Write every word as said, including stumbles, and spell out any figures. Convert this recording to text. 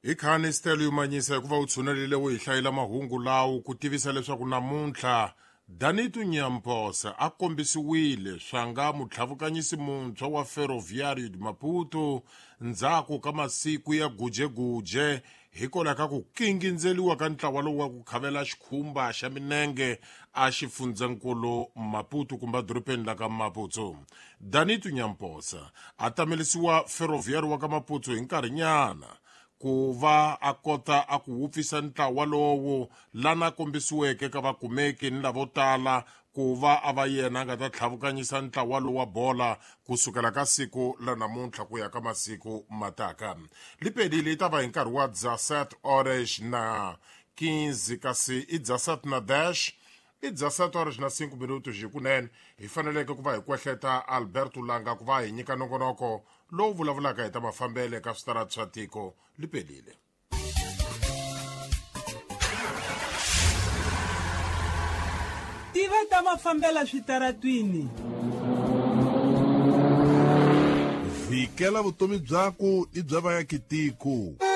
Hi khani Stella Yumanyisa hikuva u tshunelile u hi hlayela mahungu lawo ku tivisa leswaku namuntlha Danito Nyamposa a kombisiwile swanga mutlhavukanyisi muntshwa wa Ferroviário de Maputo ndzhaku ka masiku ya gujeguje hikwalaho ka ku kingindzeliwa ka ntlawa lowu wa ku khavela xikhumba xa minenge a xifundzankulu Maputo kumbe edorobeni la ka Maputo. Danito Nyamposa a tamelisiwa Ferroviário wa ka Maputo hi nkarhinyana ku va a kota a ku wupfisa ntlawa lowu lana kombisiweke ka vakumeki ni lavo tala ku va a va yena a nga ta tlhavukanyisa ntlawa lowu wa bola kusukela ka siku la namuntlha ku ya ka masiku mataka. Lipelile yi ta va hi nkarhi wa dezessete horas na quinze kasi i dezessete na dez i dezessete horas na cinco minutos hi kunene hi faneleke ku va hi kwehleta Alberto Langa ku va hi nyika nongonoko lowu vulavulaka hi ta mafambele ka switarati swa tiko. Lipelile. Tiva ta mafambela switaratwini. Vikela vutomi byaku i bya vayakitiko.